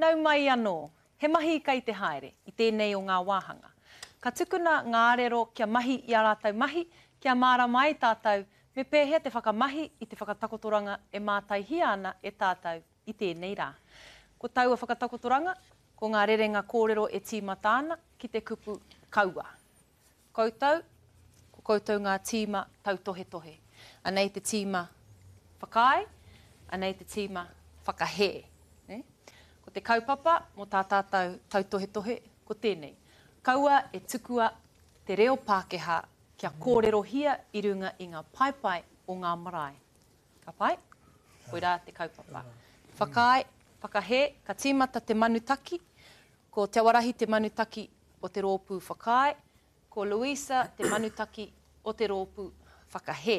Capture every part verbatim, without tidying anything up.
Nau mai anō, he mahi kei te haere i tēnei o ngā wāhanga. Ka tukuna ngā arero kia mahi i ā rātou mahi, kia mārama ai tātou me pēhea te whakamahi i te whakatakotoranga e mātaihia ana e tātou i tēnei rā. Ko taua whakatakotoranga, ko ngā rerenga kōrero e tīmata ana ki te kupu kaua. Koutou, ko koutou ngā tīma tautohetohe. Anei te tīma whakaae, anei te tīma whakahē. Ne? Ko te kaupapa mō tā tātou tautohetohe, ko tēnei. Kaua e tukua te reo Pākehā kia kōrerohia i runga i ngā paepae o ngā marae. Ka pai? Koirā te kaupapa. Whakaae, whakahē, ka tīmata te manutaki. Ko Te Awarahi te manutaki o te rōpū whakaae, ko Louisa te manutaki o te rōpū whakahē.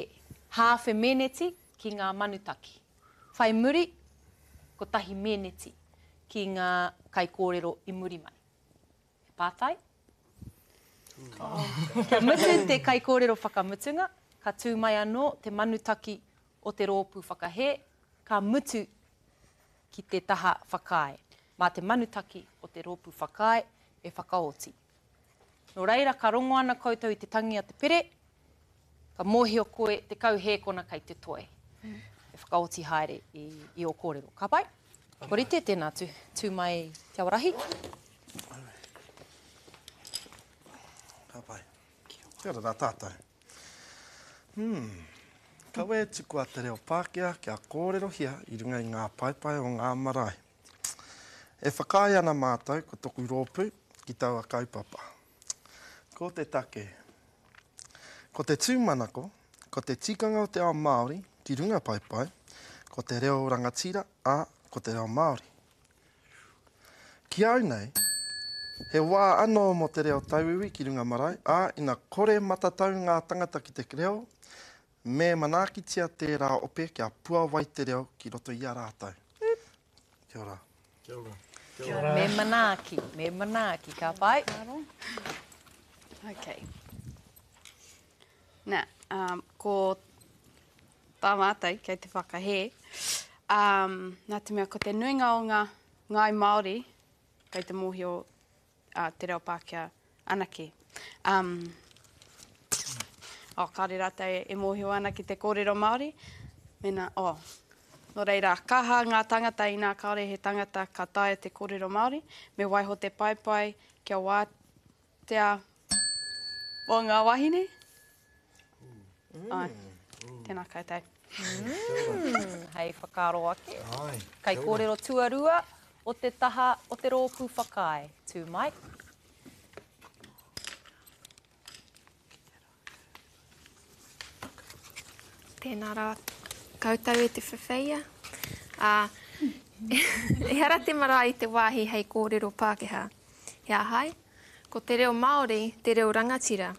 Hāwhe meneti ki ngā manutaki. Whai muri, kotahi meneti ki ngā kaikōrero i muri mai. He pātai? Kia mutu te kaikōrero whakamutunga, ka tū mai anō te manutaki o te rōpū whakahē, ka mutu ki te taha whakaae. Mā te manutaki o te rōpū whakaae e whakaoti. Nō reira, ka rongo ana koutou i te tangi a te pere, ka mōhio koe te kauhēkona kei te toe. E whakaoti haere i, i ō kōrero. Ka pai? Kua rite, tēnā, tū, tū mai Te Awarahi. Ka pai. Kia ora rā tātou. Hmm. Kaua e tukua te reo Pākehā kia kōrerohia i runga i ngā paepae o ngā marae. E whakaae ana mātou ko toku rōpū ki taua kaupapa. Ko te take. Ko te tūmanako, ko te tikanga o te ao Māori ki runga paepae, ko te reo rangatira, ā, ko te reo Māori. Ki au nei, he wā anō mō te reo tauiwi ki runga marae, ā, ina kore matatau ngā tangata ki te reo, me manaakitia tērā ope kia puawai te reo ki roto i a rātou. Kia ora. Kia ora. Kia ora. Me manaaki, me manaaki, ka pai. Okay. Nā, um, ko tā mātou kei te whakahē, um, nā te mea ko te nuinga o ngā ngāi Māori kei te mōhio uh, te reo Pākehā anake. Um, oh, kāre rātou e mōhio ana ki te kōrero Māori. Mēnā, oh, nō reira, kaha ngā tangata inā kāore he tangata ka taea te kōrero Māori, me waiho te paepae kia wātea o ngā wahine. Mm. Ai, tēnā koutou. Mm, hei whakaaro ake. Ai, Kai kōrero tuarua o te taha o te rōpū whakaae. Tū mai. Tēnā rā koutou e te whawheia. Ā, ehara te marae i te wāhi hei kōrero Pākehā. He ahai? Ko te reo Māori te reo rangatira.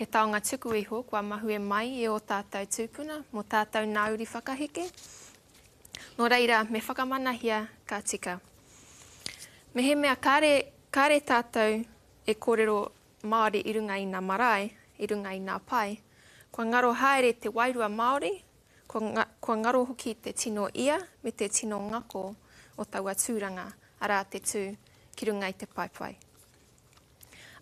He taonga tuku iho kua mahue mai i ō tātou tūpuna mō tātou nā uri whakaheke. Nō reira, me whakamanahia ka tika. Mehemea kāre, kāre tātou e kōrero Māori i runga i nā marae, i runga i nā pae, kua ngaro haere te wairua Māori, kua, kua ngaro hoki te tino ia me te tino ngako o taua tūranga, arā te tū ki runga i te paepae.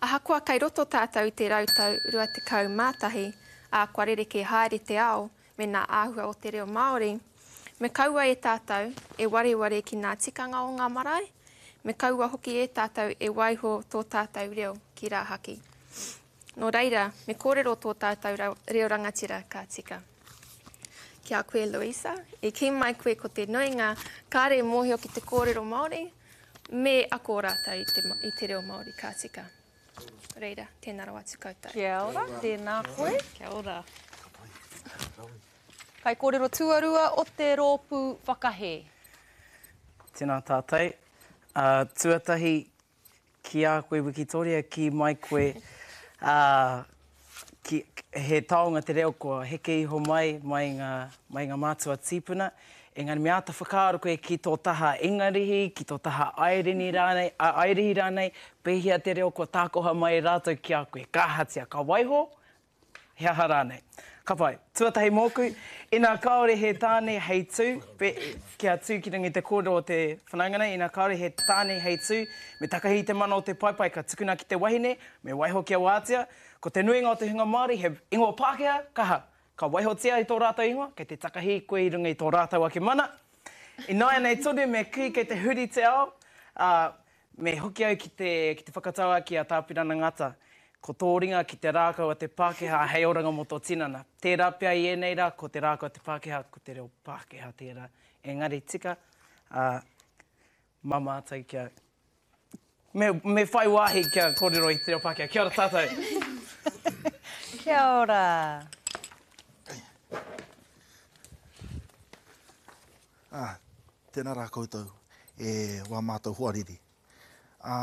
Ahakoa kei roto tātou i te rautau rua tekau mā tahi, ā, kua rerekē haere te ao me nā āhua o te reo Māori, me kaua e tātou e wareware ki nā tikanga o ngā marae, me kaua hoki e tātou e waiho tō tātou reo ki rāhaki. Nō reira, me kōrero tō tātou reo rangatira ka tika. Ki a koe, Louisa, i kī mai koe ko te nuinga kāre mōhio ki te kōrero Māori, me ako rātou i te, i te reo Māori ka tika. Reira, tēnā rawa atu koutou. Kia ora, tēnā koe. Kia ora. Kai kōrero tuarua o te rōpū whakahē. Tēnā tātou. Uh, tuatahi, ki a koe Wikitoria, ki mai koe, uh, ki, he taonga te reo kua heke iho mai, mai ngā, mai ngā mātua tīpuna. Engari me āta whakaaro koe ki tō taha Ingarihi, ki tō taha Airini rānei, a, Airihi rānei, pēhea te reo kua tākoha mai e rātou ki a koe. Ka ahatia, ka waiho, he aha rānei. Ka pai. Tuatahi mōku, ina kāore he tāne hei tū, pe, kia tū ki runga i te kōrero o te whanaunga nei, ina kāore he tāne hei tū, me takahi i te mana o te paepae ka tukuna ki te wahine, me waiho kia wātea. Ko te nuinga o te hunga Māori he ingoa Pākehā, kaha. Ka waihotia i tō rātou ingoa, kei te takahi koe i runga i tō rātou ake mana. Ināianei tonu me kī kei te huri te ao, ā, me hoki au ki te, ki te whakatauākī a Tāpirana Ngata. Ko tō ringa ki te rākau a te Pākehā hei oranga mō tō tinana. Tērā pea i ēnei rā, ko te rākau a te Pākehā, ko te reo Pākehā tērā. Engari tika, ā, mā mātou kia, me, me whai wāhi kia kōrero i te reo Pākehā. Kia ora tātou! Kia ora! Ā, tēnā rā koutou e wā mātou hoariri. Ā,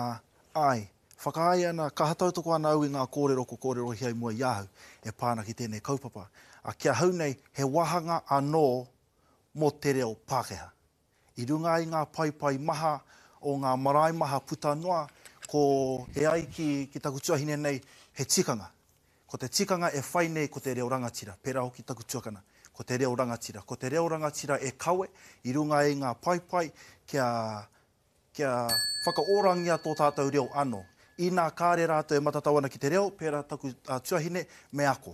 āe, whakaae ana, kaha tautoko ana au i ngā kōrero ko kōrerohia i mua i ahau e pā ana ki tēnei kaupapa. Ā, ki ahau nei, he wāhanga anō mō te reo Pākehā. I runga i ngā paepae maha o ngā marae maha puta noa, ko e ai ki, ki taku tuahine nei, he tikanga. Ko te tikanga e whai nei ko te reo rangatira, pērā hoki taku tuakana, ko te reo rangatira. Ko te reo rangatira e kawe i runga i ngā paepae kia, kia whakaorangia tō tātou reo anō. Inā kāre rātou e matatau ana ki te reo, pērā taku uh, tuahine, me ako.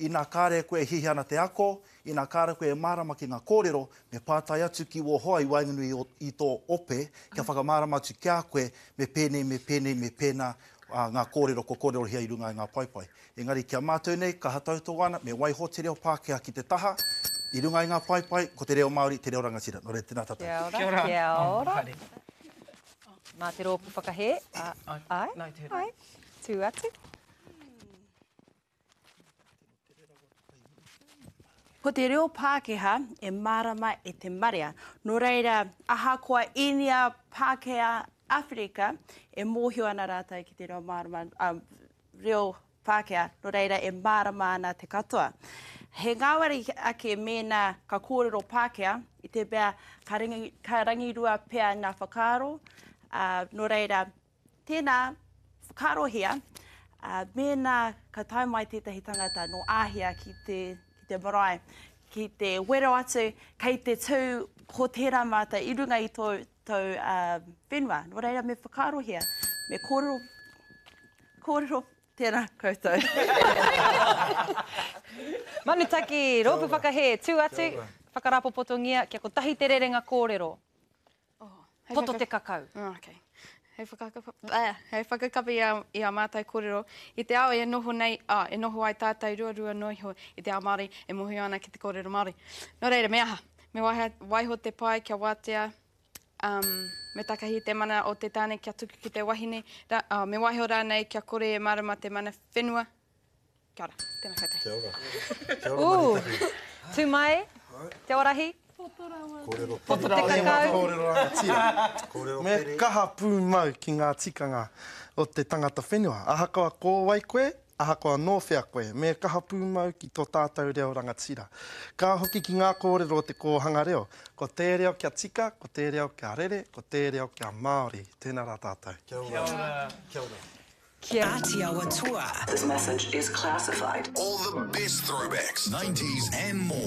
Inā kāre koe e hihi ana te ako, inā kāre koe e mārama ki ngā kōrero, me pātai atu ki wō hoa i waenganui i tō ope, kia whakamārama atu ki a koe, me pēnei, me pēnei, me pēnā uh, ngā kōrero ko kōrerohia i runga i ngā paepae. Engari kia mātou nei, kaha tautoko ana, me waiho te reo Pākehā ki te taha, i runga i ngā paepae, ko te reo Māori, te reo rangatira. Nō reira, tēnā tātou. Kia ora. Kia ora. Mā te rōpū whakahē. Ai, ai, tū atu. Ko te reo Pākehā e mārama e te marea. Nō reira, ahakoa Īnia, Pākehā, Awherika, e mōhio ana rātou ki te reo mārama, um, reo Pākehā, nō reira e mārama ana te katoa. He ngāwari ake mēnā ka kōrero Pākehā, i te mea ka, rangi, ka rangirua pea ngā whakaaro, uh, nō reira, tēnā whakaarohia, uh, mēnā ka tae mai tētahi tangata nō Āhia ki te, ki te marae, ki te wero atu, kei te tū ko tērā mātou i runga i tō, tō uh, whenua. Nō reira, me whakaarohia, me kōrero, kōrero tērā koutou. Manutaki, rōpū whakahē, tū atu, whakarapopotongia, kia kotahi te rerenga kōrero. Oh, hei Poto whaka- te kakau. Oh, okay. Hei whakakapi, eh, hei whakakapi i a, i a mātou kōrero, i te ao e noho nei, ah, e noho ai tātou ruarua noa iho i te ao Māori, e mōhio ana ki te kōrero Māori. Nō reira, me aha? Me waiha, waiho te pae kia wātea, um, me takahi te mana o te tāne kia tuku ki te wahine, ra, uh, me waiho rānei kia kore e mārama te mana whenua. Kia ora, tēnā koutou. Kia ora. Kia ora, Ū, Manutaki. tū mai, te orahi, Kōrero Poto pere. te kakau. Kōrero rangatira. Kōrero Me pere. kaha pūmau ki ngā tikanga o te tangata whenua. Ahakoa ko wai koe, ahakoa nō whea koe, me kaha pūmau ki tō tātou reo rangatira. Ka hoki ki ngā kōrero o te kōhanga reo. Ko te reo kia tika, ko te reo kia rere, ko te reo kia Māori. Tēnā rā tātou. Kia ora. Kia ora. Kia Ātiawa Toa. This message is classified. All the best throwbacks, nineties and more.